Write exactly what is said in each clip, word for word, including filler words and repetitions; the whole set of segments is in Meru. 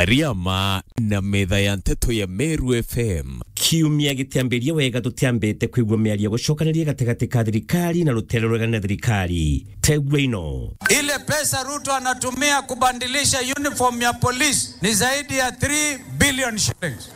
Riama na metha ya nteto ya Meru F M. Kiumia gitiambiria wega tutiambite kwigua miario gucokaniria gatigati ka thirikari na rutere ruregani na thirikari. Tegua ino. Ile pesa Ruto anatumia kubadilisha uniform ya polisi ni zaidi ya three billion shillings.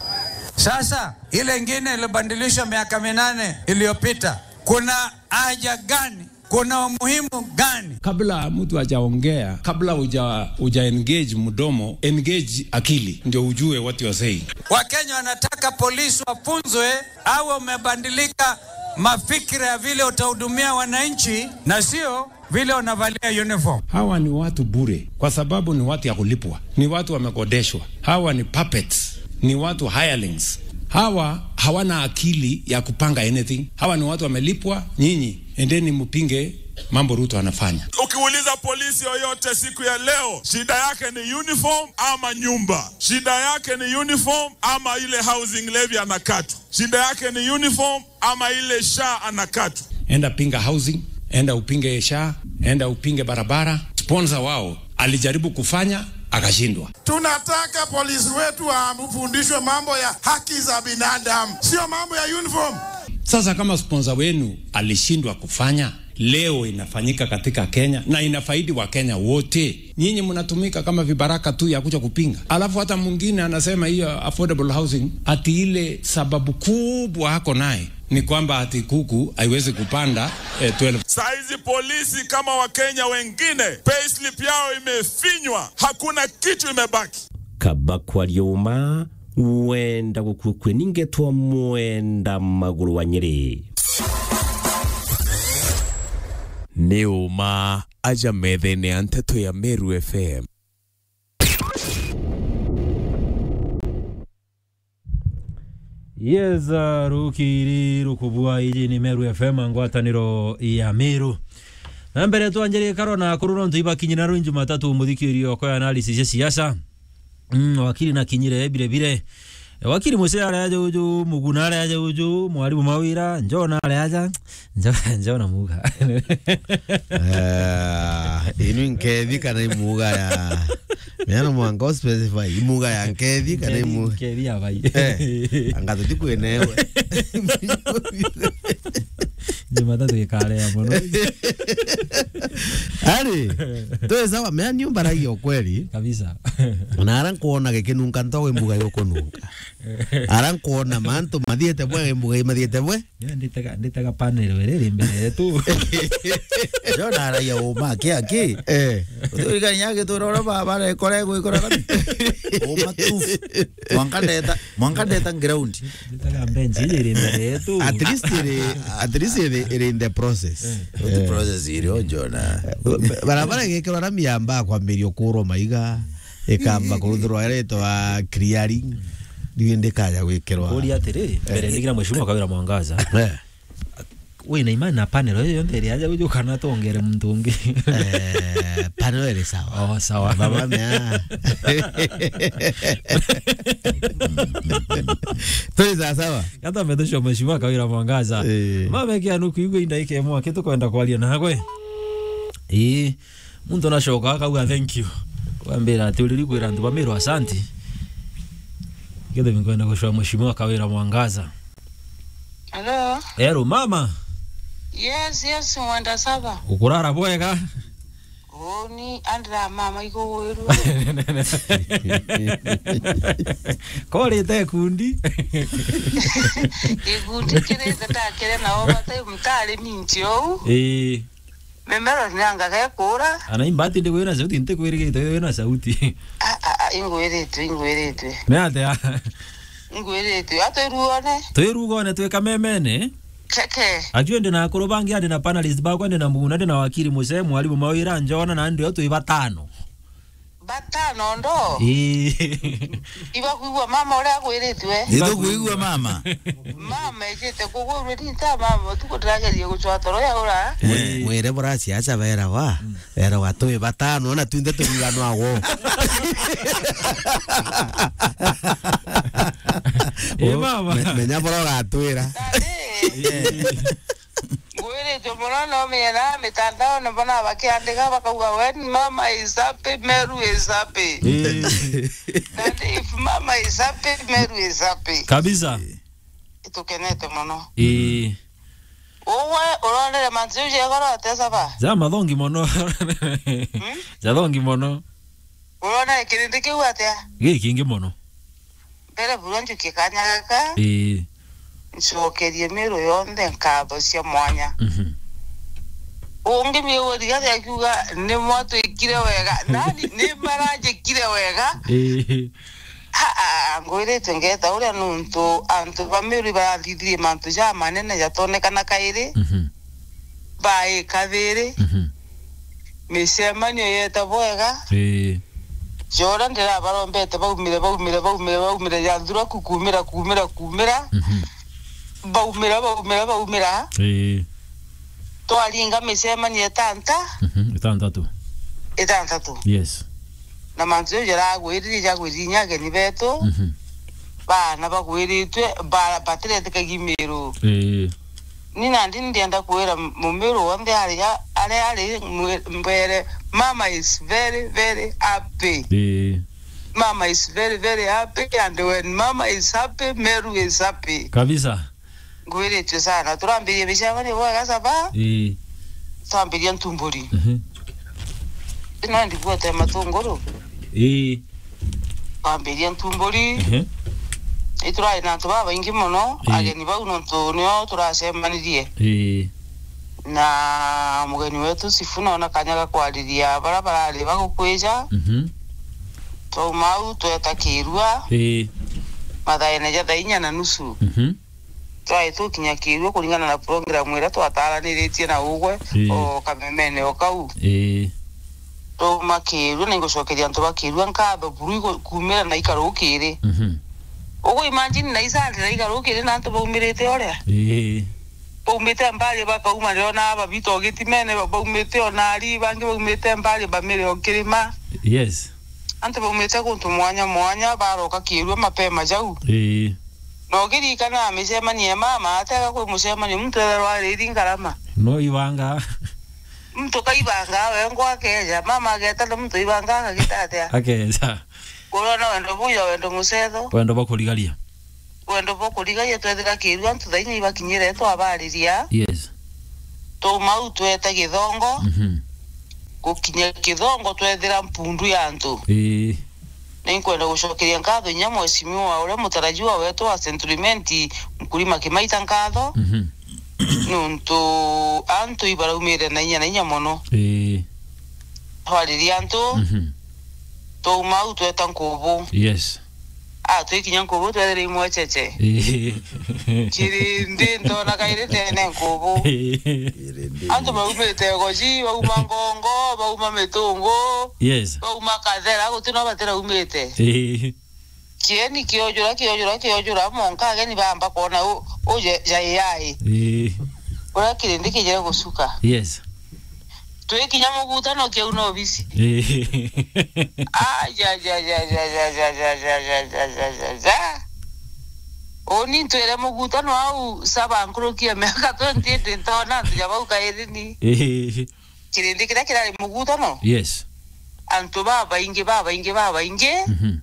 Sasa, ile ingine ilibadilishwa miaka minane iliyopita, kuna haja gani? Kuna umuhimu gani? Kabla mtu hajaongea, kabla uja, uja engage mdomo, engage akili, ndio ujue what you are saying. Wakenya wanataka polisi wafunzwe, au wamebadilika mafikira ya vile utahudumia wananchi na sio vile unavalia uniform. Hawa ni watu bure, kwa sababu ni watu ya kulipwa, ni watu wamekodeshwa. Hawa ni puppets, ni watu hirelings. Hawa hawana akili ya kupanga anything. Hawa ni watu wamelipwa, nyinyi endeni mpinge mambo Ruto anafanya. Ukiuliza polisi yoyote siku ya leo, shida yake ni uniform ama nyumba? Shida yake ni uniform ama ile housing levy anakatwa? Shida yake ni uniform ama ile SHA anakatwa? Enda pinga housing, enda upinge SHA, enda upinge barabara. Sponsor wao alijaribu kufanya, akashindwa. Tunataka polisi wetu wafundishwe mambo ya haki za binadamu, sio mambo ya uniform. Sasa kama sponsor wenu alishindwa kufanya, leo inafanyika katika Kenya na inafaidi wa Kenya wote. Nyinyi mnatumika kama vibaraka tu ya kuja kupinga. Alafu hata mwingine anasema hiyo affordable housing, ati ile sababu kubwa ako naye ni kwamba ati kuku haiwezi kupanda, eh, twelve. Saizi polisi kama Wakenya wengine, payslip yao imefinywa, hakuna kitu imebaki. Kaba kwaria uma, wenda gukua kwe ningetwa mwenda maguru wa Nyeri. Ni uma aja methene ya nteto ya Meru F M. Yes, uh, rukiri rukubua iji ni Meru F M, ngwataniro ya Meru. Na mbere twanjiririe karo na akuru nontu ibakinyire naro Jumatatu muthikiri oko ya analysis ya siasa. Mm, wakiri na kinyire bire bire. E, wakiri Musee ari aja uju, Muguna ari aja uju, Mwarimu Mawira, Njona ari aja, Njo-, Njona muga. Eh, inu nkethi kana imuga ya. Mea no mwanka specify, imuga ya nkethi kana imu- Nkethi ya bai. Eh, anga tuti kwinewe. Jumatatu ikarea mono. Ari, twi sawa, mea niumbaragia ukweli. Kabisa. Na ara nkwona gikinunka ntogo imbuga yukununka. Ara nkwona mantu mathiete bwe, imbuga imathiete bwe. Yo, nditega, nditega panel iri iri mbere yetu. Yo, naragia uma aki aki. Eh. Uthurikania agitura uria ba-, barekora gwikora rami. Uma tu. Mwanka ndeta, mwanka ndeta ground. Nditega bench iri iri mbere yetu. At least iri, at least iri, iri in the process. Eh. Uti process iri o Jona. Barabara igikirwa rami yamba kwambiria kurwa maiga. Ikamba kuruthirwa iretwa clearing. Riu ndikaja gwikirwa. Kuria atiri, mbere, eh, ndigira Mheshimiwa Kawira Mwangaza. Eh. Wina imani na panel iyo yonthe iri aja uju kana twongere muntu ungi? Eh, panel iri sawa. Oh, sawa. Baba mea. Turi sawa sawa. Gata metusho Mheshimiwa Kawira Mwangaza. Eh. Mama kia nuku igwe inda ike mwa kitu kwenda kwaria nagwe. Ii. Muntu nacoka akauga, "Thank you." Kwambira ati, "Uriri kwira antu ba Meru asanti." Githimi nkwenda gucwa Mheshimiwa Kawira Mwangaza. Hello? Hello, mama. Yes, yes, mwenda saba. Ukurara bwega? Uni andira mama ikugwirua. Korite kundi. Gikundi kirite takire na overtime tari minti ou. Ii. Mimero ni anga gekura. Ana imbati ndi kwira sauti, nti kwirigite wina sauti. A, a, a, ingwiritwe, ingwiritwe. Ni atia? Ingwiritwe. Atwirugone. Twirugone twi kamemene. Keke. Ajue ndi na akuru bangi, ndi na panelist bakwa, ndi na Muguna, ndi na wakiri Musee, mwarimu Mawira, Njona, na ndi o twi batano. Batano ndo? Ii. Ibakwigua mama uria agwiritwe? Nitukwigua mama. Mama ejite kugwirwe ni ta mama, utuku ndirageria gucwa toro ya ura. Mwi-, eh, mwire bura ciaca beragwa, mm, beragwa twi batano, na twinthe turiganwa gwo. Ii, mama. Me-, menya bura ugatwira. Ati, ngwiritwe Muno no miena mitandaone mbona bakiandika bakauga, "When mama is happy, Meru is happy." Eh. That if mama is happy, Meru is happy. Kabisa. Itukenete muno. Eh. Uwe uronere mantu jau jegoro atesa ba? Ja mathongi muno. Hmm? Jathongi muno. Uronere kirindi kiu atia? Gikingi muno. Mbere buru njukie kanya gaka, ii, ncokerie Meru yonthe nkatho cia mwanya. Mhm. Ungi Meru rigathi akiuga, "Ni mwatwikire wega." Nani? Ni maranjikire wega? Ii. Aa, ngwiritwe ngeta uria nuntu antu ba Meru barathithirie mantu jamanene jatonekana kairi. Mhm. Baika thiri. Mhm. Micemanio yeta bwega. Ii. Jora ndirabarombete baumire, baumire, baumire, baumire, yathura ku-, kumira, kumira, kumira. Mhm. Baumira, baumira, baumira. Ii. Twaringa micemanio itanta. Mhm, itantatu. Itantatu. Yes. Na mantu jau jaragwirire, jagwirire inya ageni betu. Mhm. Bana bagwiritwe, ba-, batiretikagia Meru. Ii. Ni nandi ndienda kwira Mumiru wonthe aria, aria ari mwe-, mbere, mama is very, very happy. Ii. Mama is very, very happy, and when mama is happy, Meru is happy. Kabisa. Ngwiritue sana. Turambirie micemanio bwega saba. Ii. Twambiria Ntumburi. Mhm. Ino ndigwete matunguru. Ii. Twambiria Ntumburi. Mhm. Iturari na antu babaingi muno, ii, ageni bau nontu nio turacemanirie. Ii. Na mugeni wetu Sifuna ona kanya ga kwariria bara barari bagukwija. Mhm. Twauma au tweta Kirua. Ii. Mathaene ja thaa inya na nusu. Mhm. Twari tukinya Kirua kuringana na program iria twataranirĩtie na ugwe, ii, o kamemene o kau. Ii. Twauma Kirua, na ingucokeria antu ba Kirua nkatho buru igu-, kumira na ikaru kiri. Mhm. Ugu imagine na isandi na ikaru kiri na antu baumirite uria. Ii. Baumite mbari bakauma reo na aba bito gitimene, ba-, baumite o nari, bangi baumite mbari bamire o kirima. Yes. Antu baumite guntu mwanya mwanya, baroka Kirua mapema jau. Ii. Na ugiririkana micemanio ya mama, atega kwi mucemanio, muntu etherwa ariri ngarama. No ibanga. Muntu kaibanga, wengwa akeja. Mama ageta na muntu ibanga akagita atia? Akeja. Kurona wendo buya, wendo mucetho. Wendo bwa kurigaria. Wendo bwa kurigaria twethira Kirua, antu thaa inya ibakinyire twabariria. Yes. Twauma au tweta Githongo. Mhm. Gukinya Githongo twethira mpundu ya antu. Ii. Ninkwenda gucokeria nkatho inya mheshimiwa uria mutarajiwa wetu wa Century Mint, Mkulima Kimaita nkatho. Mhm. Nuntu antu ibaraumire na inya na inya mono. Ii. Twariria antu, mhm, twauma au tweta Nkubu. Yes. Ah, twikinya Nkubu twethira imwecheche. Ii. Kirindi ntona kairi tene Nkubu. Ii. Antu baumite Goji, bauma Ngongo, bauma Mitungu, yes, bauma Kathera, guti no batiraumite. Ii. Kieni kiojura, kiojura, kiojura, monka ageni bamba kwona u, u ja-, jai yai. Ii. Uria kirindi kijire gucuka. Yes. Twikinya mugutano kiu na obisi. Ii. Ajajajajajajajajajajajaja. Uni ntwire mugutano au saba nkurukia miaka twenty eight ntona antu ja bau kairi ni. Ii. Kirindi kiria kirari mugutano. Yes. Antu babaingi, babaingi, babaingi. Mhm.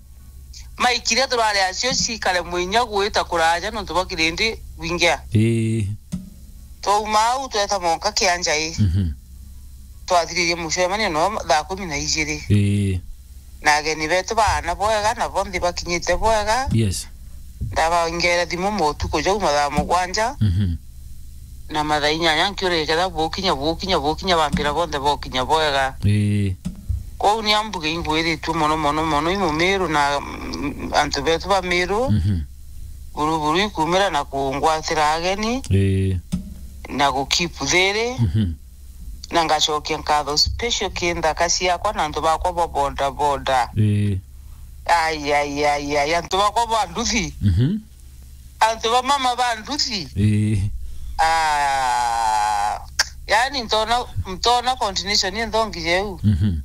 Maikire turari acio cikare mwinya gwita kuraja nontu bwa kirindi gwingia. Ii. Twauma au tweta monka kia njai. Mhm. Twathiririe mucemanio no thaa kumi na ijiri. Ii. Na ageni betu baana bwega, na bonthe bakinyite bwega. Yes. Ndabaingera thimu motuku jau mathaa mugwanja. Mhm. Na mathaa inyanya nkiuria ketha bukinya, bukinya, bukinya, bampira bonthe bokinya bwega. Ii. Kwou ni ambuge ingwiritue mono, mono, mono i Mumiru na, mm, antu betu ba Miru. Mhm. Buru, buru ikumira na kungwatira ageni. Ii. Na gu keep thiri. Mhm. Na ngacokia nkatho special ki nthaka ciakwa na antu bakwa ba boda boda. Ii. Ai, ai, ai, ai, antu bakwa ba nduthi. Mhm. Antu ba mama ba nduthi. Ii. Ah, yani ntona, ntona continuation ni nthongi jeu. Mhm.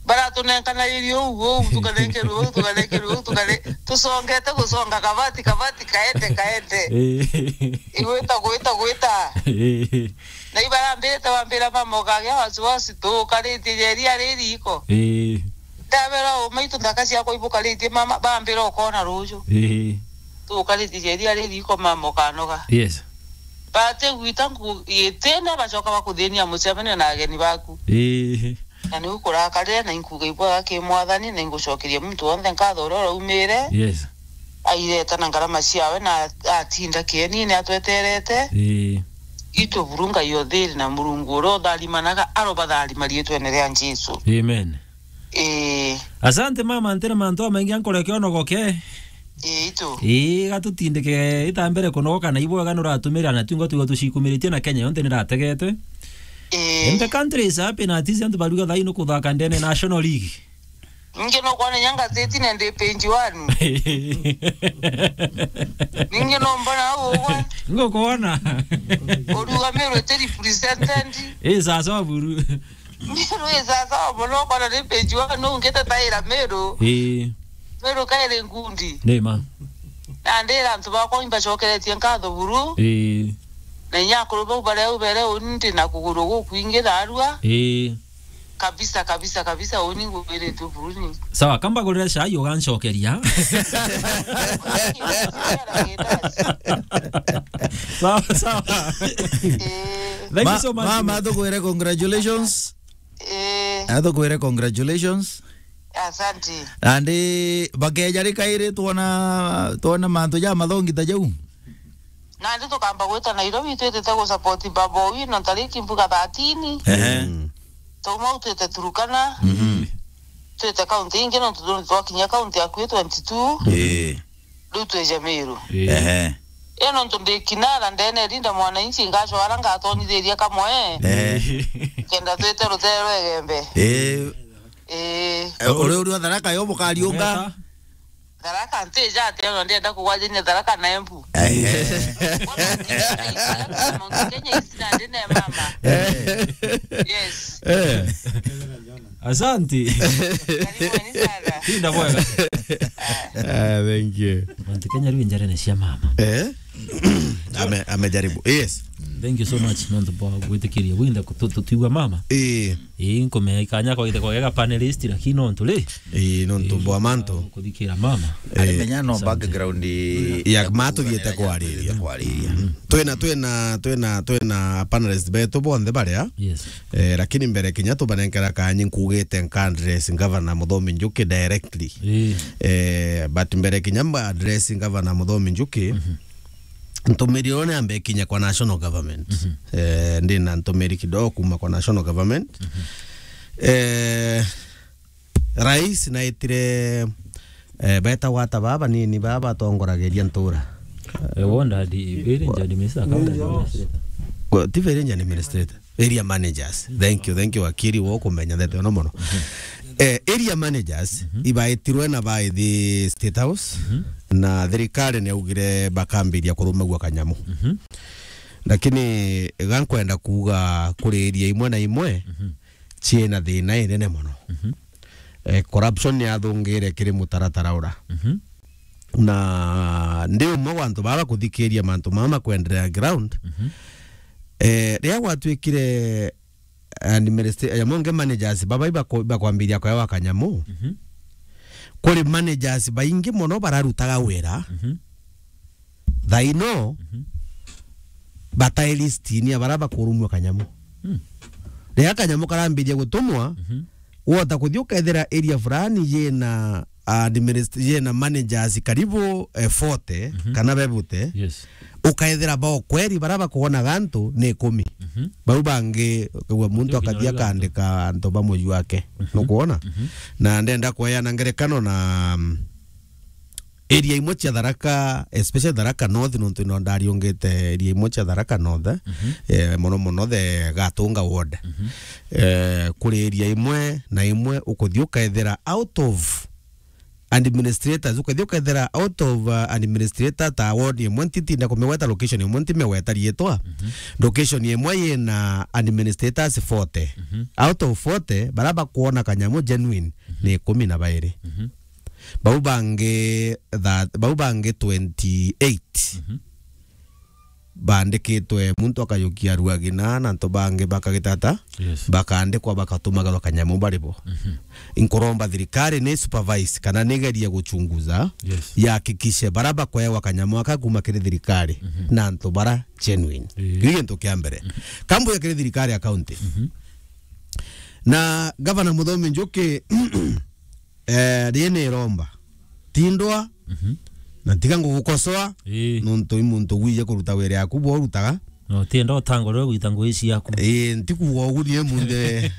Baratunenkanairie uu, uu, tukanenkerwe uu, tukanenkerwe uu, tukane-, tusongete gusonga kabati, kabati, kaende, kaende. Ii. Igwita, gwita, gwita. Ii. Na ibarambirite bambira mama ukagia wasiwasi, tukaritie ja iria ririko. Ii. Ndabera umaitu nthaka ciakwa ibukaritie mama, bambira ukona ruju. Ii. Tukaritie ja iria ririko mama ukanoga. Yes. Bate gwita nku-, itene bacoka bakuthinia mucemanio na ageni baku. Ii. Na niu kurakarire na inkuga ibwega ki mwathani, na ingucokeria muntu wonthe nkatho uria uraumire. Yes. Aireta na ngarama ciawe na atinda kienine atweterete. Ii. Itu buru Ngai o thiri na Murungu uria utharimanaga arobatharima riitwene ria Jesu. Amen. Ii. Asante mama, ntire mantu amaingi ankureke onogoke. Ii, itu. Ii, gatutindike itambere kunogoka na ibwega nuratumira na twingo twigo tucikumiritie na Kenya yonthe nirategete. Ii. And the country is happy na ati antu baruga thai nukuthaka ndene National League. Ningi no kwana nyanga thirteen and page one. Ningi no mbona au ugwe. Ngukuona. Uruga Meru ite represented. Ii, sasa buru. Meru ii sasa mono kwana ni page one no ngite taira Meru. Ii. Meru kaire ngundi. Ni ma. Na ndira antu bakwa imbacokeretie nkatho buru. Ii. Na inya akuru bau baria ubere undi na kuguru gukwingi tharua. Ii. Kabisa, kabisa, kabisa, uni ngwiritwe buruni. Sawa, kamba gurira cai ugancokeria. Sawa, sawa. Eh. Thank you Ma-, so much. Mama, tukwire congratulations. Eh. Atukwire congratulations. Asante. Andi bakeja rikairi twona, twona mantu ja mathongi ta jau. Nandi tukamba gwita Nairobi twitite gu support baba uyu na ntariki mbuga thirteen. Ehe. Mm. Tuma utwite Turukana. Mhm. Twite kaunti ingi nontu twakinya kaunti ya kwi twenty-two. Ii. Riu twija Meru. Ii. Ehe. Ii nontu ndi kinara ndene rinda mwananchi ngacwara ngatonithiria kamwe. Ehe. Kenda twite rutere rwa Igembe. Ii. Ii. Eh, uri uri wa Tharaka yo mukariunga? Tharaka ntija ati ona ndienda kugwajania Tharaka na Embu. Ehe. Ona ndi Mount Kenya isi na ndi ne mama. Yes. Eh. Asante. Karibuni sana. Tinda bwega. Ah, thank you. Mount Kenya riu njarene cia mama. Eh? Ame-, amejaribu. Yes. Thank you so much, nontu bwa gwitikiria bwinthe kutu-, tutiigua mama. Ii. Ii, nkumenya ikanya kwa ithe kwa gega panelist, lakini nontu ri? Ii, nontu bwa mantu. Kuthikira mama. Ii. Arimenya no asante. Background ya matu thiete kwariria. Kwariria. Mm. Twina, twina, twina, twina panelist betu bonthe baria. Yes. Eh, lakini mbere kinya tubanenkera kanya nkugite nka address Governor Muthomi Njuki directly. Ii. Eh, but mbere kinya mba address Governor Muthomi Njuki, mhm. Ntumiri uria niambe kinya kwa national government. Mhm. Eh, ndina ntumiri kidogo kuma kwa national government. Mhm. Eh, rais naitire, eh, betagwa ata baba nini baba batongoragiria ntura? Eh, wonda di, very Njadi Misa, county administrator. Kwa, ti very Njadi administrator. Area managers. Thank you, thank you, wakiri, wo kumenya ndeto ino mono. Eh, area managers, mhm, ibaitirwe na baithi State House, mhm, na thirikari niaugire bakambiria kurumagua kanyamu. Mhm. Lakini gankwenda kuuga kuri area imwe na imwe, mhm, ciina thina inene mono. Mhm. Eh, corruption niyathungire kiri mutaratara ura. Mhm. Na ndi umwe wa antu baba kuthikiria mantu mama kwenderea ground. Mhm. Eh, riria gwatuikire administra-, ya monge managers, baba ibako-, ibakwambiria kuewa kanyamu. Mhm. Kuri managers baingi mono bararutaga wira. Mhm. Thaino, mhm, batai listini ya bara bakurumua kanyamu. Mm. Riria kanyamu karambiria gutumwa, mhm, wota kuthi ukethira area fulani yina administ-, yina managers karibu, eh, forty, mhm, kana bebute. Yes. Ukaethira bao kweri bara bakuonaga antu ni ikumi. Mhm. Bau bangi, ukagua muntu akathi akandika antu ba muji wake. Mhm. Nukuona? Mhm. Na ndenda kweana ngerekano na, mm, area imwe cia Tharaka, especially Tharaka North, nontu ino ndariungite area imwe cia Tharaka North, mhm, eh, mono mono the Gatunga ward. Mhm. Eh, kuri area imwe na imwe ukuthi ukethira out of administrators, ukathi ukethira out of, uh, administrator ta ward imwe, ntitinda kumigweta location imwe, ntimigweta riitwa. Mhm. Location imwe yina administrators forty. Mhm. Out of forty, bara bakuona kanyamu genuine, mhm, ni ikumi na bairi. Mhm. Bau bangi tha-, bau bangi twenty-eight. Mhm. baandikitwe, muntu akajukia ruagina na antu bangi bakagitata, Yes. bakaandikwa, bakatumagerwa kanyamu bari bo. Mhm. Inkuromba thirikari ni supervise kana nigerie guchunguza, Yes. yahakikishe bara bakwewa kanyamu aka kuma kiri thirikari Mhm. na antu bara genuine. Ii. Kiu gintu kia mbere. Mhm. Kambuya kiri thirikari ya county. Mhm. Na Gavana Muthomi Njuki, eh, rie ni iromba. Tindwa, Mhm. na tiga ngugukosoa, Ii. nontu i muntu wiije kuruta wira yaku bwo urutaga. No, tienda utangurire gwita ngui ciaku. Ii, ntikuuga ugu ni emunde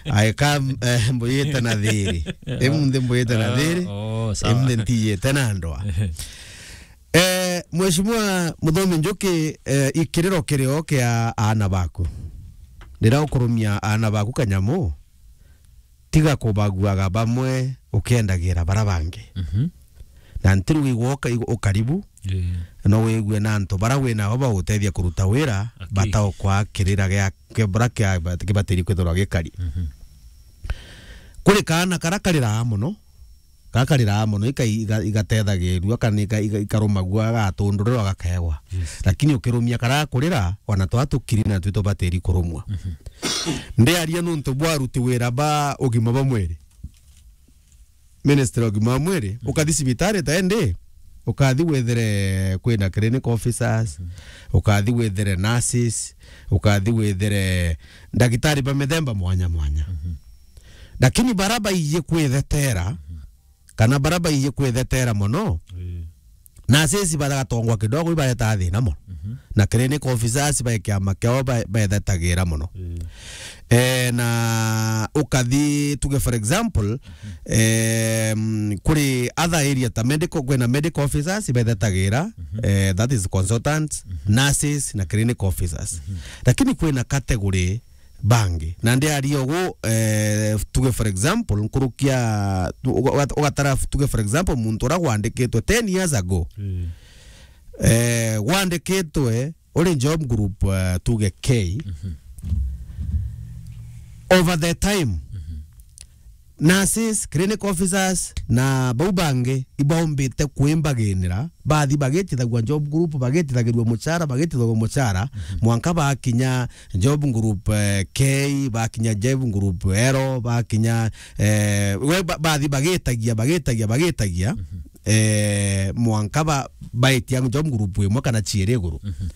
aeka, eh, mbuyite na thiri. Emunde mbuyite na Ah, thiri. Oh, sawa. Emunde ntiyite na ndwa. Eh, Mheshimiwa Muthomi Njuki, eh, ikiriro kirio kia aana baku. Riria ukurumia aana baku kanyamu, tiga kubaguaga bamwe ukiendagira bara bangi. Mhm. Na ntiruga igwe uka-, igwe ukaribu, Yeah. no wigue na antu bara wi nabo bagutethia kuruta wira, Aki. bataukwa kirira gia, kia bara kia, kibatiri kwithirwa gikari. Mhm. Kuri kaana kara kariraa mono, Gakariraa mono, ika-, iga-, igatethagirua, kana ika-, ika-, ikarumagua, gatundurirwa, gakaegwa. Yes. Lakini ukirumia karaa kurira, ona twa tukiri natwi tubatiri kurumwa. Mhm. Ndiaria nuntu bwa aruti wira ba ugima bwa mwiri. Ministry ya ugima bwa mwiri, Mhm. ukathi cibitari ta indi, ukathi withire kwina clinic officers, Mhm. ukathi withire nurses, ukathi withire ndagitari ba mithemba mwanya mwanya. Mhm. Lakini bara baiji kwithetera, Mhm. kana bara baiji kwithetera mono, Ii. nurses bagatongwa kidogo, ibareta thina mono. Mhm. Na clinic officers ba kiama kiao ba-, baithetagira mono. Ii. Eh, na ukathi, tuge for example, Mhm. em, kuri other area ta medical, kwina medical officers baithetagira, Mhm. eh, that is consultants, Mhm. nurses na clinic officers. Mhm. Lakini kwina category bangi. Na ndiaria ugu, eh, tuge for example, nkurukia, tu-, uga-, uga-, ugatara, tuge for example, muntu uria gwandikitwe ten years ago. Mm. Eh, gwandikitwe uri job group, eh, tuge K. Mhm. Over the time, Mhm. nurses, clinic officers, na bau bangi ibaumbite kwimbaginira, bathi bagitithagua job group, bagitithagirua muchara, bagitithagua muchara, Mhm. mwanka bakinya job group, eh, K, bakinya job group L, bakinya, eh, we ba-, bathi bagitagia, bagitagia, bagitagia, Mhm. eh, mwanka ba-, baitia job group imwe kana ciiri iguru. Mhm.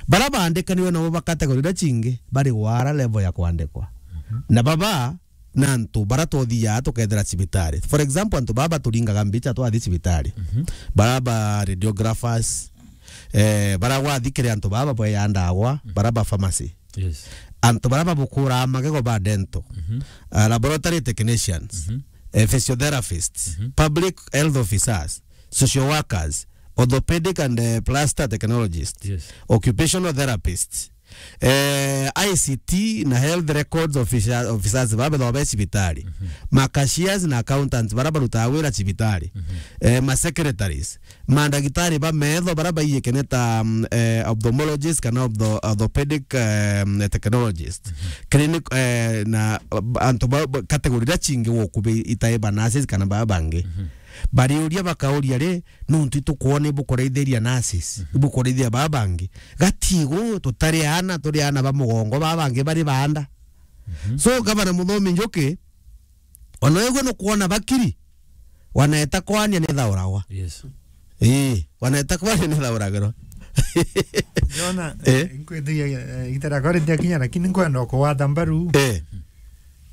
Bara baandikanirwe nabo ba category iria cingi, bari gwara level ya kwandikwa. Mhm. Na baba, na antu bara twothiaa tukethira cibitari. For example, antu baba turingaga mbicha twathi cibitari. Mhm. Bara ba radiographers, eh, bara gwathi kiri antu baba bweya ndagwa, Mhm. bara ba pharmacy. Yes. Antu bara babukuraa magego ba dental, Mhm. ah, laboratory technicians, Mhm. eh, physiotherapists, Mhm. public health officers, social workers, orthopedic and, eh, plaster technologists, Yes. occupational therapists, eh, I C T na health records officia-, officers bara bethagwa be cibitari, Mhm. ma cashiers na accountants bara barutaga wira cibitari, Mhm. eh, ma secretaries, mandagitari ba metho bara baiyikene ta, mm, eh, ophthalmologist kana optho-, orthopedic, eh, technologist, Mhm. clinic, eh, na, eh, antu ba, ba, category iria cingi gukubi itai ba nurses kana baa bangi. Mhm. Bariuria bakauria ri, nuntu itukwona ibukuraithiria nurses, Mhm. ibukuraithia baa bangi. Gatigu tutari aana, turi aana ba mugongo, baa bangi bari baanda. Mhm. So, Gavana Muthomi Njuki, ona wigwe nukwona bakiri, wanaeta kwania ni thauragwa. Yes. Ii, wanaeta kwania ni thauragirwa. Jona, Eh? Nkwithia, eh, itara kore ndia kinya, lakini nkwenda kugwata mbaru. Eh.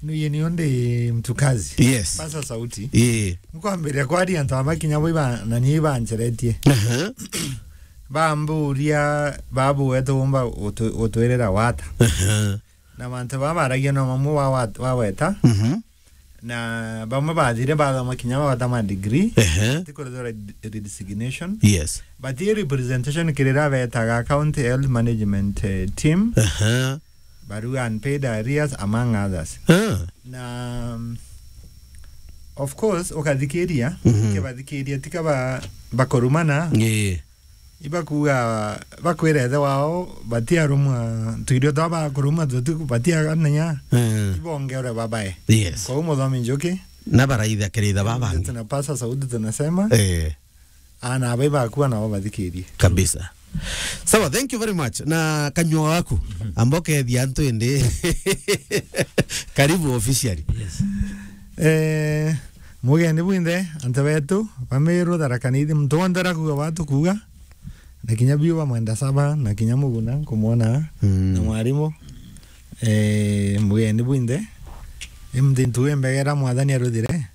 Nuye ni undi mtukazi. Yes. Pasa sauti. Ii. Nkwambiria kwaria antu aba kinya bo iba, na ni ibancheretie. Aha. Bamburia, babu wetu umba utu-, utwirira wata. Aha. Na mantu baba baragia no mamwe wa, wa, waweta. Mhm. Na bamwe bathire bathoma kinya bagwata ma degree. Ehe. Ti kurethwa re-, resignation. Yes. But i representation kiri ria betaga County Health Management, eh, Team. Ehe. Baru unpaid arrears, among others. Ah. Na, um, of course, ukathikiria, Mhm. ukibathikiria, tika ba-, bakurumana. Ii. Ibakuga, bakwira ithe wao, batiarumwa, tuirio twa bakurumwa tutu, batiagananya, Mm. ibongeore babae. Yes. Kwa hiyo Muthomi Njuki, Na baraitha kiritha baba bangi. Tunapasa sauti tunasema, Eh, ana abai bakua nao bathikirie. Kabisa. Sawa, thank you very much. Na kanyua gaku, amba ukethia antu indi. Karibu officially. Yes. Eh, mugeni bwinthe, antu betu, ba Meru, Tharaka Nithi, muntu wonthe arakuga batu kuga, na kinya biu ba Mwenda Saba, na kinya Muguna, nkumwona, Mm. na mwarimu. Eh, mugeni bwinthe, i muntu ntuge mbegera Mwathani aruthire,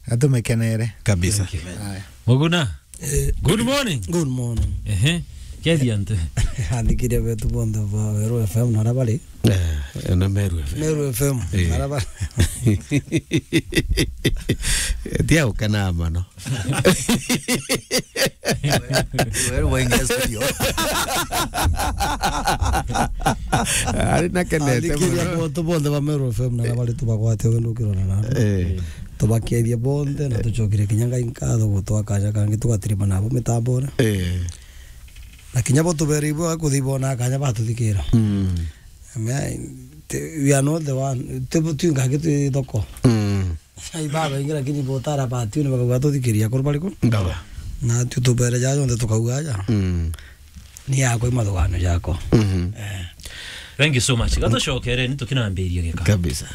atumekenere. Kabisa. Thank you. Aya. Muguna. Eh, good morning. Good morning. Ehe. Kethi antu. Athikiria betu bonthe ba Weru F M na aria bari. Eh, na Meru F M. Meru F M, Eh. na aria bari. Tia ukena mano. Weru waingia studio. Ari na kenete Athikiria muno. Bonthe bonthe ba Meru F M na aria bari tubagwate wendo ukirona na. Eh. Tubakeethia bonthe na tucokire kinya Ngai nkatho gutwa kaja kangi tugatirima nabo mitambone. Eh. Na kinya bo tuberei bo kuthi bona kanya batuthikira. Mm. Amen. Te-, we are not the one. Te bo tu ngangi tu thoko. Mm. Ai baba ingi lakini botara ba tu ni bakauga tuthikiria kuru bariku. Baba. Na tu tubere ja jonthe tukauga ja. Mm. Ni yakwa imathugano jakwa. Mhm. Eh. Thank you so much. Gatucokere ni tukinambiria gika. Kabisa.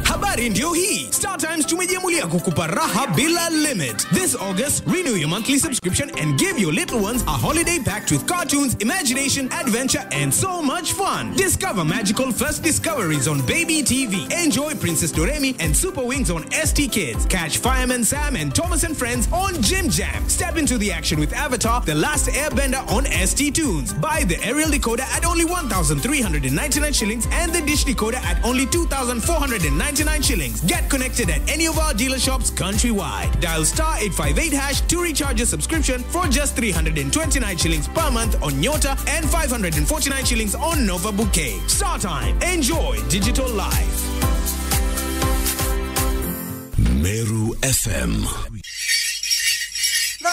Habari ndio hii. Star Times tumejiamulia kukupa raha bila limit. This August, renew your monthly subscription and give your little ones a holiday packed with cartoons, imagination, adventure, and so much fun. Discover magical first discoveries on Baby T V. Enjoy Princess Doremi and Super Wings on S T Kids. Catch Fireman Sam and Thomas and Friends on Jim Jam. Step into the action with Avatar, The Last Airbender on S T Tunes. Buy the aerial decoder at only one thousand three hundred and ninety-nine shillings and the dish decoder at only two thousand four hundred and ninety-nine shillings. Get connected at any of our dealer shops countrywide. Dial star eight five eight hash to recharge your subscription for just three hundred and twenty-nine shillings per month on Nyota and five hundred and forty-nine shillings on Nova Bouquet. Star Time. Enjoy digital life. Meru F M.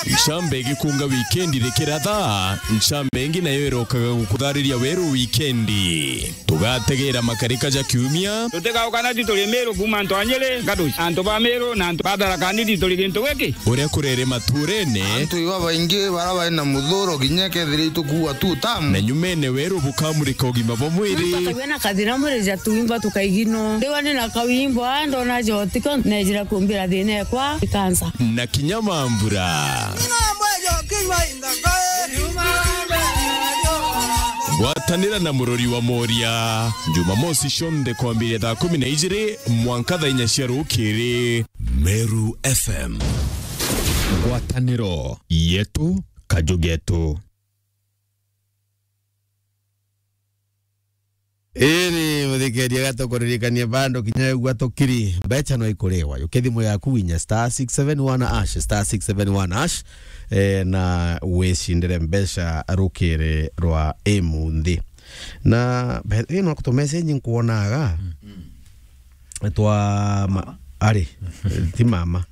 Ncambe igikunga wikendi rikiratha, ncambe ingi nayo irokaga gukuthariria weru wikendi. Tugategera makarika ja kiumia. Tutigauka na ti turi Meru kuuma antu a Nyeri, Ngatuci, antu ba Meru na antu ba Tharaka Nithi turi gintu giki. Uria kurere maturene. Antu iba baingi bara bari na muthuro kinya kethira itukuua tu tamu. Na nyumene weru bukamurika ugima bwa mwiri. Mpaka wena kathina mwiri ja tuimba tukaigino. Ndiwa ni na kawimbo, ah, ndona jotiko, nejira kumbira thina ekwa, ikansa. Na kinya mambura. Ng'ombe jo kinywa inthaka. Gwatanira na murori wa Moria. Jumamosi cionthe kwambiria thaa kumi na ijiri mwanka thaa inya cia rukiri. Meru F M. Ngwataniro yetu, kaju getu. Iri, muthikeria, gatukuririkania bado kinya ugwa tukiri, mbecha no ikuriwa. Yukia thimu yaku winya star six seven one hash, star six seven one hash, eh, na wicindire mbecha rukiri rwa imunthi. Na be-, ino ku tu message nkuonaga, Mm. twa ma-, Mama. Ari, ti mama.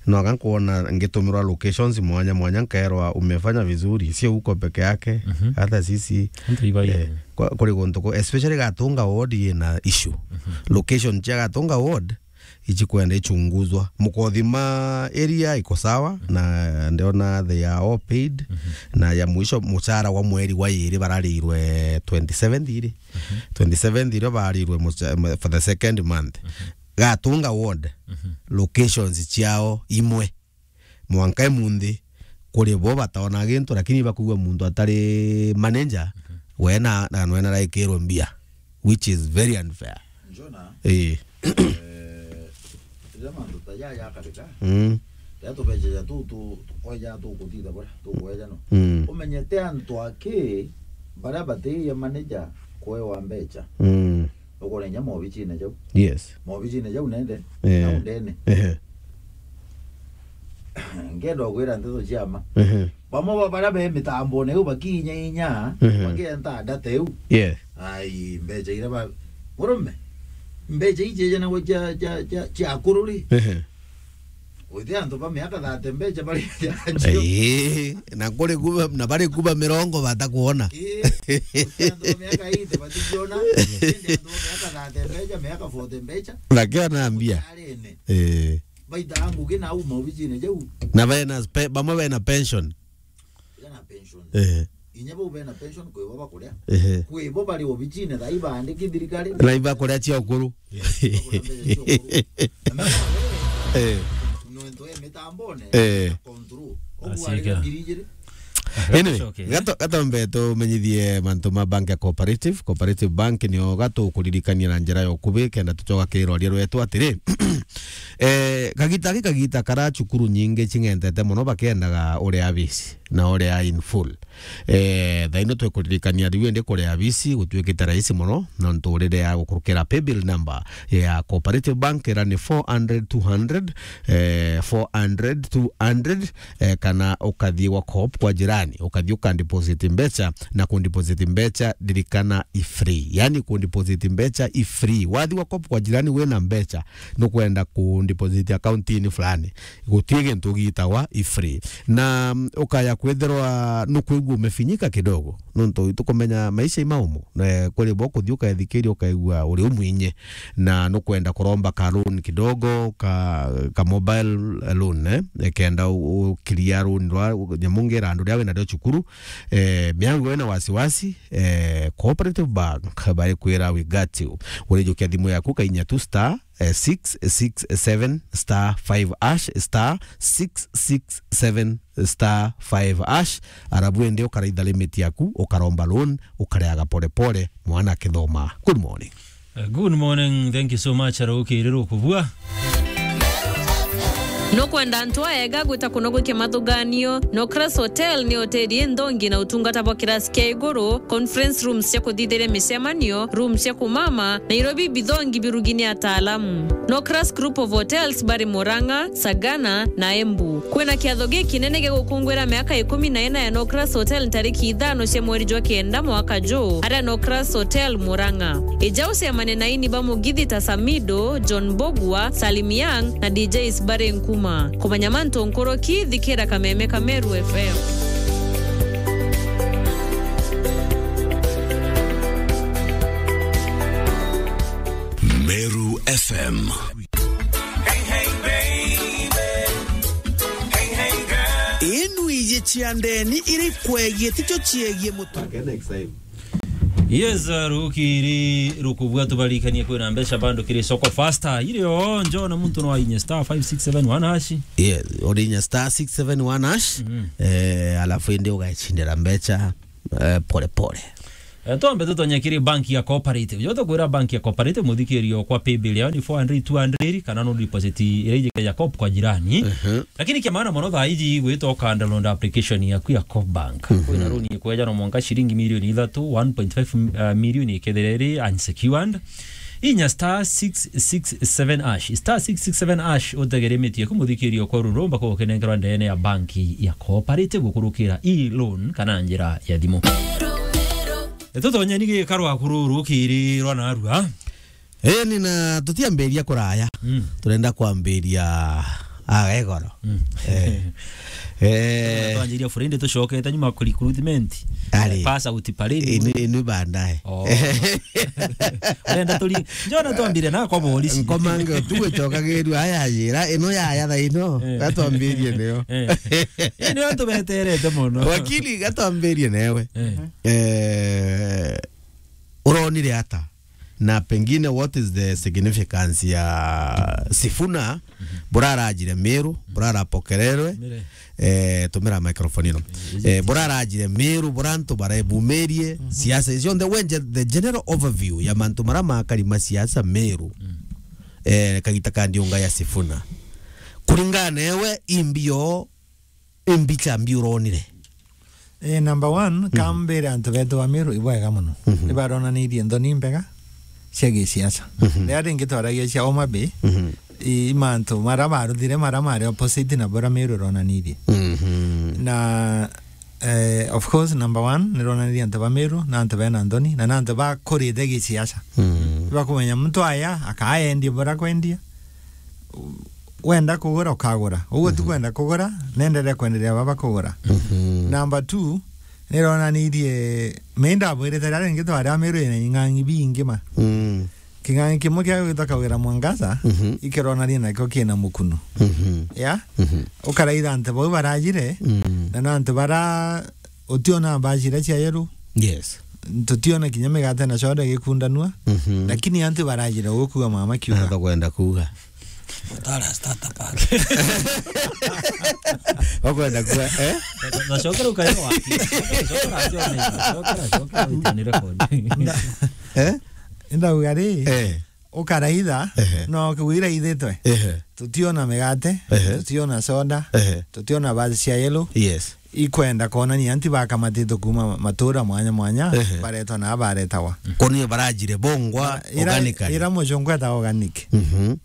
No, anga nkuona ngitumirwa locations mwanya mwanya, nkaerwa umefanya vizuri, sio huko peke yake, Mhm. hata sisi, Hata ibai. eh, kwa-, kuri guntu ku-, especially Gatunga ward yina issue. Mhm. Location cia Gatunga ward ichikwenda ichunguzwa. Mukothima area iko sawa, Mhm. na ndiona they are all paid, Mhm. na ya mwisho muchara wa mweri wa iri bararirwe twenty-seventh iri. Mhm. Twenty-seventh irio barirwe mucha-, for the second month. Mhm. Gatunga ward, Mhm. locations ciao imwe. Mwanka imunthi, kuri bo bataona gintu, lakini bakuigua muntu atari manager, Mhm. we na, na we naraikirwe mbia, which is very unfair. Njona, Eh. eh, riria mantu ta jaya jakarika, Mm. riria tubeca ja tu, tu, tukweja tukuthitha buria, tukweja no. Mm. Umenyete antu aki, baria batiiye manager kwewa mbecha. Mm. Ukore inya maobichine jau. Yes. Maobichine jau nende, Eh. nau ndene. Ehe. Ngenda gwira nteto cia ma. Ehe. Bamwe ba baria be mitambone iu bakinya inya, Ehe. bakienta data iu. Yes. Ai, mbecha iria ba-, murume, mbecha iji ijana gwa cia, cia, cia, cia akuru ri? Ehe. Gwite antu ba miaka thirty mbecha bari njanjo. Ii, na kuri kuba, na bari kuba mirongo batakuona. Ii, gwite antu ba miaka eighty batikiona, indi antu ba miaka thirty mbecha, miaka forty mbecha. Bakiona mbia. Arene. Ii. Baita ngugi na uma obichine jau. Na bena spe-, bamwe bena pension. Bena pension. Eh. Inya bau bena pension kwi bo bakuria. Ehe. Kwi bo bari obicine thaa ibaandiki thirikari. Na ibakuria cia ukuru. Bakuria mbeca cia ukuru. Na mbeca Eh. Nontu e mitambone, Eh. control. Ogu Asika. Ari ngiri igiri. Anyway, Gacoke, eh? gato-, gatombe tumenyithie mantu ma bank ya Cooperative. Cooperative Bank nio gatukuririkania na njira ya ukubi, kenda tucoka kiroria rwetu atiri. Eh, kagita gaki kagita kara cukuru nyingi cing'entete mono bakiendaga uria abisi na uria in full. Eh, thaino twikuririkania riu indi kuria abisi gutuikite rahisi mono, nontu urire ya gukurukira paybill number ya Cooperative Bank ira ni four hundred two hundred, eh, four hundred two hundred, eh, kana ukathii gwa Coop kwa jirani, ukathii ukandeposit mbeca, na kundeposit mbeca, ririkana, i free. Yani kundeposit mbeca i free. Wathii gwa Coop kwa jirani wina mbeca, nukwenda kundeposit account-ini fulani, guti gintu gitagwa i free. Na, mm, ukaya kwithirwa nukwigua umefinyika kidogo, nontu itukumenya maisha i maumu. Eh, kuri bo kuthii ukethikiria ukaigua uri umwinyi, na nukwenda kuromba ka loan kidogo, ka, ka mobile loan, eh, kenda u-, ukiria loan rwa nyamu ngira andu ria wina rio cukuru. Eh, miango wina wasiwasi, eh, Cooperative Bank barikwira we got you. Urijukia thimu yaku kainya tu star eh, six six seven star five hash, star six six seven star five hash, arabu indi ukaraitha limit yaku, ukaromba loan, ukareaga pole pole, mwana akithoma. Good morning. Uh, good morning, thank you so much, Arauki Iriru Kubua. Nukwenda antu aega gwita kunogokia mathuganio? Nocras Hotel ni hoteli inthongi na utungata bwa kirasi kia iguru, conference rooms cia kuthithiria micemanio, rooms cia kumama, Nairobi bithongi birugi ni ataalamu. Nocras Group of Hotels bari Murang'a, Sagana na Embu. Kwina kiatho gikinene gia gukungwira miaka ikumi na ina ya Nocras Hotel ntariki ithano cia mweri jwa kenda mwaka juu, aria Nocras Hotel Murang'a. Ija ucemane na ini ba mugithi ta Samido, John Bogwa, Salim Young na D Js bari Nkuma. Kumenya mantu nkuruki, thikira Kameme ka Meru F M. Meru F M. Inu iji cia ndeni iri kwegie ticio ciegie mutu. Yes, uh, rukiri rukubua tubarikanie kwina mbeca bando kiri soko faster. Irio njo na muntu no ainye star five six seven one hash. Yes, urinya star six seven one hash. Mhm. Eh, alafu indi ugacindira mbeca, eh, pole pole. Eh, twambe tutonye kiri bank ya Cooperative. Jo tukwira bank ya Cooperative muthikirio kwa paybill yao ni four hundred, two hundred, kana no deposit ira ijike ya Coop kwa jirani. Mhm. Lakini kia maana mono thaa iji gwita ukanda loan application yaku ya Coop Bank. Mhm. Kwina loan ikweja no mwanka shilingi milioni ithatu, one point five, uh, million ikethira iri unsecured. Inya star six six seven hash. Star six six seven hash utegere miti yaku muthikirio kwa rurumba kwa ukenengerwa ndene ya banki ya Cooperative gukurukira e-loan kana njira ya thimu. Tutonye ni gikaro akuru rukiri rwa narua. Eh, nina tutiambiria kuraya. Mm. Turenda kwambiria agegoro. Mm. Eh. Eh. Twanjiria friend tucokete nyuma ku recruitment. Ari. Pass out parade. Inu, inu bandae. Oh. Urenda turi, njona twambire na kwa polisi. Nkomange tu gwicokagirirua aya ajira, ino yaya thaa ino, eh, gatwambirie niyo. Eh. Ino tubeterete mono. Wakili, gatwambirie newe. Eh. Eh, uronire ata? Na pengine what is the significance ya Sifuna, mhm, burarajire Meru, burarapokererwe, Mire. Eh, tumira microphone ino. Eh, eh, burarajire Meru, burantu barebumirie, mhm, siasa cionthe, wenje the general overview ya mantu mara makari ma siasa Meru. Mm. Eh, kagita ka ndiunga ya Sifuna. Kuringana newe, imbio, imbicha mbi uronire? Eh, number one, mhm, kambire antu betu ba Meru ibwega mono. Mhm. Nibaronanirie nthoni mbega cia gisiasa. Mhm. Riria ringi twaragia cia Homa Bay, mhm, i, i mantu mara baruthire mara mari opposite na bura Meru ironanirie. Mhm. Na, eh, of course, number one, nironanirie antu ba Meru na antu bena nthoni na na antu bakurite gisiasa. Mhm. Bakumenya muntu aya akaendie bura kwendia. Wenda kugura, ukagura. Uguo tu, mhm, kwenda kugura, nenderee kwenderea baba kugura. Mhm. Number two, nironanirie, mi ndabwirite riria ringi twari a Meru ina ing'ang'i bingi ma. Mm. King'ang'i kimwe kia gwitwa Kawira Mwangaza, mhm, ikironania nakio kina mukunu. Mhm. Ya? Mhm. Ukaraitha antu bau barajire, mm, na na antu bara Utiona mbaci iria cia yellow. Yes. Tutiona kinya migate na soda igikundanua. Mhm. Lakini antu barajira gukua mama kiuga. Anataka kwenda kuuga. Utara starter pack. Wakwenda kuuga, eh? Na, na cokera ukayo waki. Cokera, cokera, cokera, cokera, uitanire kodi. Eh? Ndauga ri, eh, ukaraitha, ehe, no kiwira ithitwe. Ehe. Tutiona migate, ehe, tutiona soda, ehe, tutiona baadhi cia yellow. Yes. Ikwenda kuonania anti bakamatitwe kuma matura mwanya mwanya, ehe, baretwa na baretawa. Kuonania barajire bongwa. Ira, organically. Ira mucungu etawa organic. Mhm.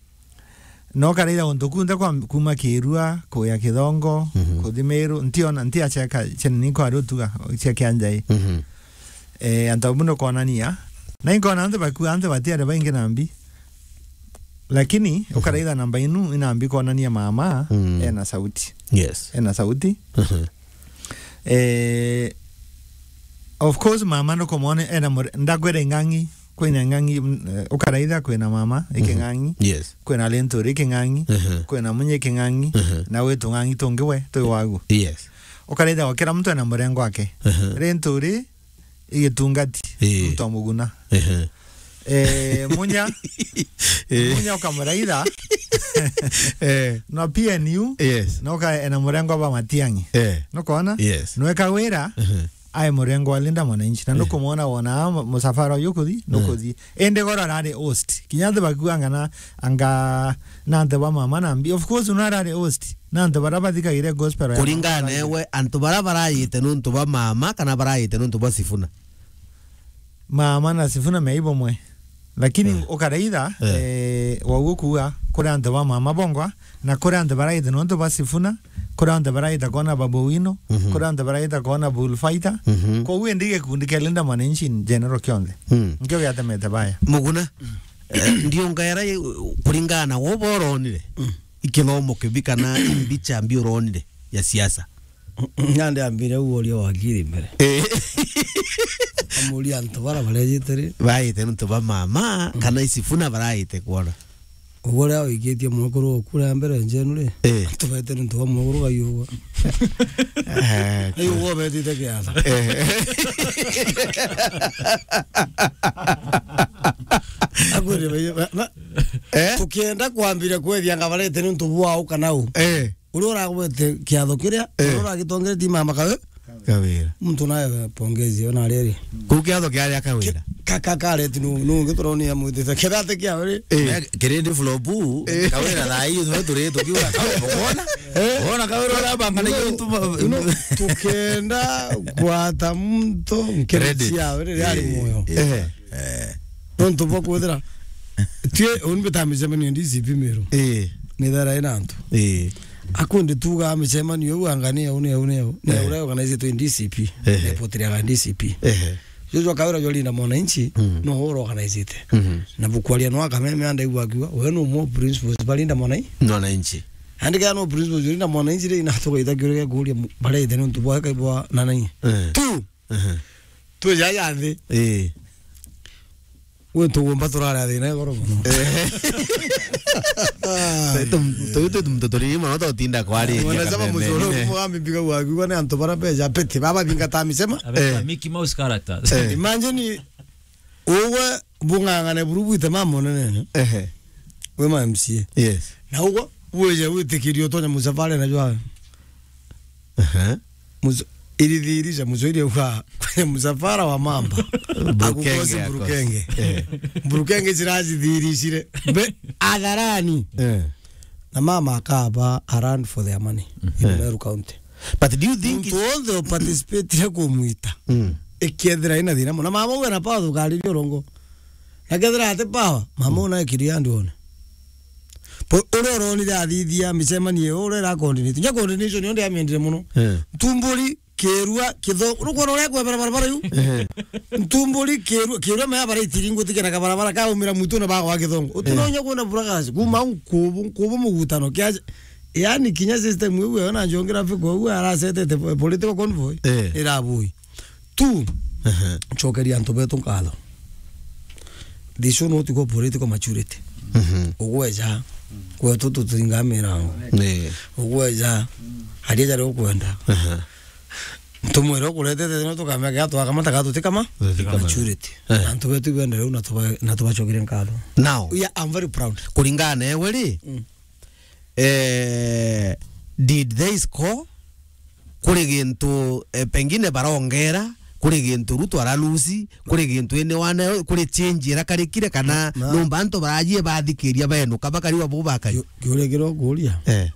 No karaira untu kunthe kwa, kuma Kirua, kuya Kithongo, mhm, kuthi Meru, ntiona, ntiaceka, cheneni kwa rutuga, cia Kianjai. Mhm. Eh, antu abu nukonania. Na inkona antu bakua, antu batiari baingi nambi. Lakini, mhm, ukaraitha namba inu, inambi konania mama, mm, ena sauti. Yes. Ena sauti. Mhm. Eh, of course, mama nukumwona ena mure-, ndakwira ing'ang'i, kwina ing'ang'i, mm, eh, ukaraitha kwina mama, mhm, iking'ang'i. Yes. Kwina Linturi iking'ang'i, mhm, kwina Munye iking'ang'i, mhm, na wi tung'ang'i tungi we, twi wagu. Yes. Ukaraitha wa kira muntu ena murengo wake. Mhm. Linturi, igitungati, ii, muntu wa Muguna. Ehe. Eh, Munya, eh, Munya ukamuraitha. Eh. Na P N U, yes, no ka ena murengo ba Matiang'i. Eh. Nukwona? Yes. Nweka wira, ehe, ai murengo wa Linda Mwananchi. Na, eh, nukumwona wona mu-, musafara uyu kuthi, eh, nukuthi. Indi goro arari host. Kinya antu bakuanga na, anga na antu ba mama nambi. Of course, una arari host. Na antu bara bathikagire gospel ya kuringana mama newe, antu bara barayite nuntu ba mama kana barayite nuntu ba Sifuna? Mama na Sifuna me ibomwe. Lakini, eh, ukaraitha, eh, eh, waugu kuuga kuri antu ba mama bongwa, na kuri antu barayite nuntu ba Sifuna, kuri antu barayite kwona Babu Owino, mhm, kuri antu barayite kwona Bull Fighter. Mhm. Koguo indi gikundi kia Linda Mwananchi in general kionthe. Mm. Nkio giatemete baya. Muguna, eh, ndiongaera i-, kuringana na wo boronire. Mm. Ikithomo kibi kana imbicha mbi uronire ya siasa? Nandi ambire u uria wakiri mbere. Eh. Amuria antu bara barejite ri? Baite nuntu ba mama, mm, kana i Sifuna baraite kwona? Uguo ria wikitie mwekuru oku ria mbere njenu ri? Eh. Antu baite nuntu ba mwekuru gaiugwa. Eh, gaiugwa betite kiatha. Eh. Akwire bai-, ba-, ba-, eh? Tukienda kwambire kwethia nga barete nuntu bwao kana u. Eh. Uria uragwete kiatho kiria, eh, uria uragitongeretie mama kawe. Kawira. Muntu nawe pongezi, ona riri. Kuu kiatho kiaria Kawira. Ki-, ka-, ka-, kareti nu-, nungi turoni amwitite. Kirate kiawe ri. Eh. Eh, kirindi flopu, eh, Kawira thaa hii, twe turi tukiuga, Kawira, wona? Eh? Wona Kawira urabanga na no, iyo ntu ba-, no, tukenda kwata muntu nkireti credit. Yawe ri, ari, eh, muoyo. Eh. Eh. Nontu bwa kwithira, tue, uni mbita micemanio D C P Meru. Eh. Ni thara ina antu. Eh. Akundi tuga micemanio iu anga ni au, ni au, ni au. Ni, eh, au ria organizitwe ni D C P. Eh. Ni potiriaga D C P. Eh. Joshua Kawira jwa Linda Mwananchi, mm, no ura organizite. Mhm. Na bukwaria no akameme anda igwa akiuga, we no mo principals ba Linda Mwananchi. Mwananchi. Andika no principals ba Linda Mwananchi ri na tugaita kiuria gia kuria mu-, barete nontu bwa kai bwa nanai. Eh. Tu. Mhm. Twi jaja nthi. Ii. Gwi tugumba turari a thina igoro mono. Eh. Twi tu, twi tu, twi tu, turi mono tutinda kwari. Wanasema muzoro kumwambi mbiga wa kiuga ni antu bara mbeja pete. Baba binga ta misema. Abeta, eh, Mickey Mouse characters. Eh. Imagine ugwe bung'ang'ane buru bwite mama munene. Ehe. Wi ma M C A. Yes. Na ugwe wije witikirio utonya musafara na jwawe. Ehe. Mus-, irithirisha, Muswahili auga, kwenye msafara wa mamba, Burukenge akukosi akose. Burukenge. Eh. Burukenge ciracithiricire. Mbe, atharani. Eh. Na mama akaba a run for their money in, eh, Meru County. But do you think muntu wonthe uparticipatire kumwita, mm, ikethira ina thina muno. Na mama uwe na power thukariria urongo. Na kethira ati power, mama, mm, una ekiria andu one. Po, uria uronire athithia micemanio iyo, uria ira coordinate. Nya coordination yo ndiamiendire muno. Eh. Ntumburi, Kirua, Kitho-, urukwona uria kwebera barabara yu? Eh. Ntumburi, Kirua, Kirua mea bara itiringu tikena kabarabara kaumira mwitu na bagwa Kithongo. Uti, eh, no nya kuona buragasi, kuma nkubu, nkubu mugutano, kia, yani kinya system iu yo na njongira fiko iu arasetete po-, political convoy, eh, irabui. Tu, aha, ncokeria antu betu nkatho. This show no tiko political maturity. Mhm. Ugweja, kwetu tutinga mirango. Ni. Ugweja, aria jari ukwenda. Aha. Tumwire ukuretete no tukamea kia twakamata ka tutikama. Tutikama. Maturity. Eh. Antu betu bende riu na tuba-, na tubacokire nkatho. Now, yeah, I'm very proud. Kuringana na ewe ri, mm, eh, did they score? Kuri gintu, eh, pengine barongera, kuri gintu Ruto aralusi, kuri gintu ini wane, kuri change irakarikire kana na, numba antu barajie bathikiria benu, kaba kariwa bo bakai. Kiu-, kiuria kiria ukuria. Eh.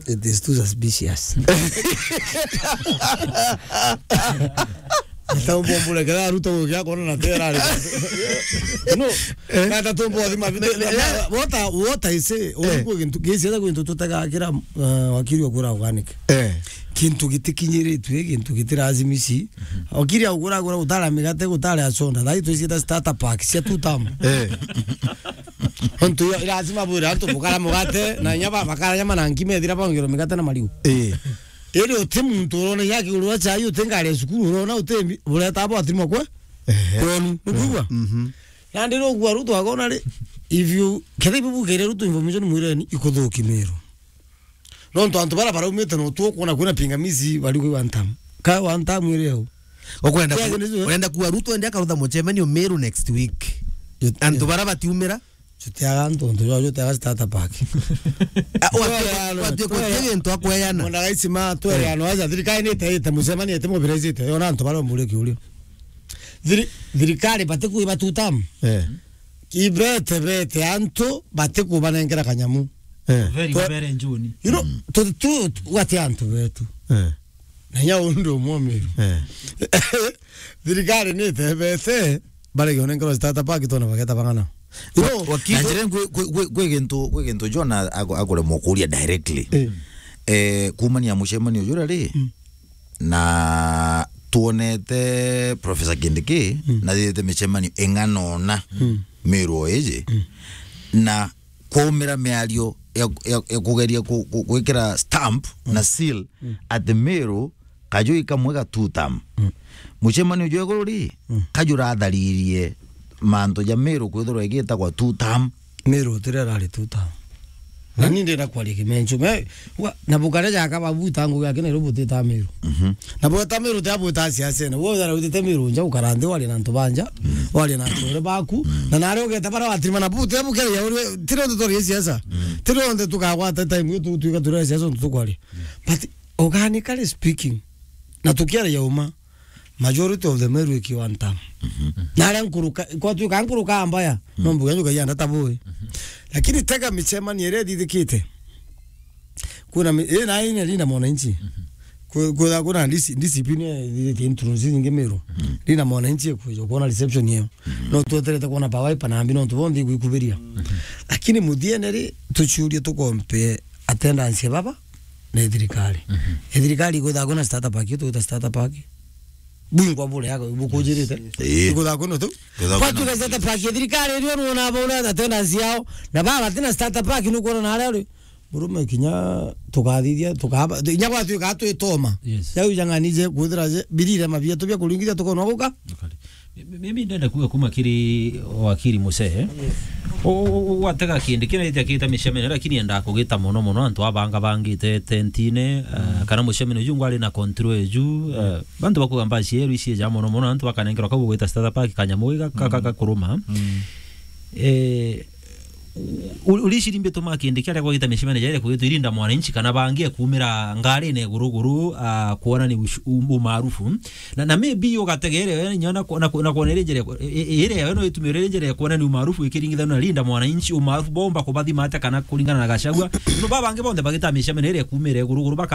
It is too suspicious. Ata umbo mbure kera Ruto gukia kona na tera ari. No, eh, na ata tumbo thima bide. What I, what I say, eh, oku gintu gisi ata gintu tutega kira, eh, wakiri okura organic. Eh. Kintu gitikinyiritwe, kintu gitirazimisha. Okiri okura okura gutara migate, gutara soda. Thai twicita starter pack cia two term. Eh. Ontu yo, lazima bwire antu bukara mugate, na nyama, bakara nyama na nkima ethira bongero migate na mariu. Eh. Iri uti muntu urona ya kiguru wa chai, uti ngari ya cukuru urona, uti mbi-, bureta abo atirimo kwe? Ehe. Kwenu, nukwigua? Mhm. Nandi nukwigua Ruto akona ri, if you, kethira ibubukeire Ruto information mwireni, ikuthuki Meru. Nontu antu bara baraumite no tu kuona kwina pingamizi bari kwi one term. Ka one term iri au. Ukwenda ku-, kwenda kuwa Ruto ende akarutha mucemanio Meru next week. Antu bara batiumira? Jutiaga antu, antu jwa jutiaga starter pack. Ah, watu, watu kwa kile ntu akweyana. Mwana gaisima, twere ano aja, thirikari ni ite, ite mucemanio, ite mobilizite, yona antu bara mbure kiurio. Thiri-, thirikari bati kuiba two term. Eh. Ibete, bete antu bati kubanengera kanyamu. Eh. Very, very June. You know, tu, tu, tu, wati antu betu. Eh. Na nya undu umwe Meru. Eh. Thirikari ni itebete, barege onenkerwa starter pack tona bageta bang'ana. You know, wakili, na njira kwi, kwi, kwi, kwi gintu, kwi gintu John a-, aku-, akuremwa kuria directly. Eh. Eh, kumania mucemanio juria ri, mm, na tuonete Professor Kindiki, mm, na thithite micemanio ing'ana ona, mm, Meru o iji, mm, na kwaumira miario ya, ya, ya kugeria ku-, ku-, gwikira stamp, mm, na seal, mm, ati Meru kajui kamwe ga two term. Mm. Mucemanio jwa iguru ri, mm, kajuratharirie mantu ja Meru kwithirwa igitagwa two term. Meru utire rari two term. Na ni ndenda kwaria kimencho. Me, wa, na bukare jaka babuta ngugi yake Nairobi utita Meru. Mhm. Na bweta Meru te abweta siasa na. Wo yara utite Meru nja ukara nthi wari na antu banja, mm, wari na antu ore baku. Mm. Na nare ugeta bara watirima na bute bukere ya uri, tire undu turi siasa. Mm. Tire undu tukagwata time yo tu, tuika turi siasa undu tukwari. Mm. But organically speaking, na tukiaria uma, majority of the Meru iki one term. Mhm. Na aria nkuruka, kwa tuika nkuruka mbaya, mm, no mbuga njuka yanda tabui. Mhm. Lakini tega micemanio iria ithithikite. Kuna mi-, ii na ine Linda Mwananchi. Mhm. Ku-, kutha kuna D C, D C P ni ithithikite intrusi nyingi Meru. Mhm. Linda Mwananchi kuja kuona reception iyo. Mhm. No tweterete kuona power pa nambi no tubondi gwikubiria. Mhm. Lakini muthiene ri tuciurie tukompe attendance ya baba na thirikari. Mhm. Thirikari igutha kuna starter pack, iyo tugwita starter pack. Bwingwa bure yako, bukujirite. Yes, yes. Ii. Igutha kuna tu. Igutha kwa kuna tu. Tuga starter pack, thirikari irio nuona bura attendance yao. Na baba tina starter pack nukuona na aria uri. Murume kinya tukathithia, tukaba, inya gwatuika twitoma. Yes. Yau jang'ani je, kwithira je, birire mabia tubia kuringithia tukona guka. Okay. Mi-, mi-, mimi ndenda kuga kuma kiri wakiri Musehe. Yes. U-, u-, u-, watega kindi kina ithia kita micemanio, lakini enda kugita mono mono antu abanga bangite tentine, eh, mm, kana mucemanio ju ngwari na control eju, eh, bantu bakuga mbaci yeru ici ja mono mono, antu bakanengerwa kau gwita starter pack kanyamu ga-, ka-, ka-, mm, gakuruma. Mm. Eh, U-, uriciri mbituma kindi kiaria gwita micemanio jaria kugitwa irinda mwananchi kana bangi ekumira ngarine iguru iguru, ah, kuona ni ush-, um-, umaarufu. Na, na maybe ugategeere we nyona ku-, na ku-, na kuona iri njira ya ku-, i-, i-, iri yawe no itumire iri njira ya kuona ni umaarufu ikiringithanua na linda mwananchi, umaarufu bomba kubathima atia kana kuringana na Gachagua. No babangi bonthe bagita micemanio iria ekumira iguru iguru baka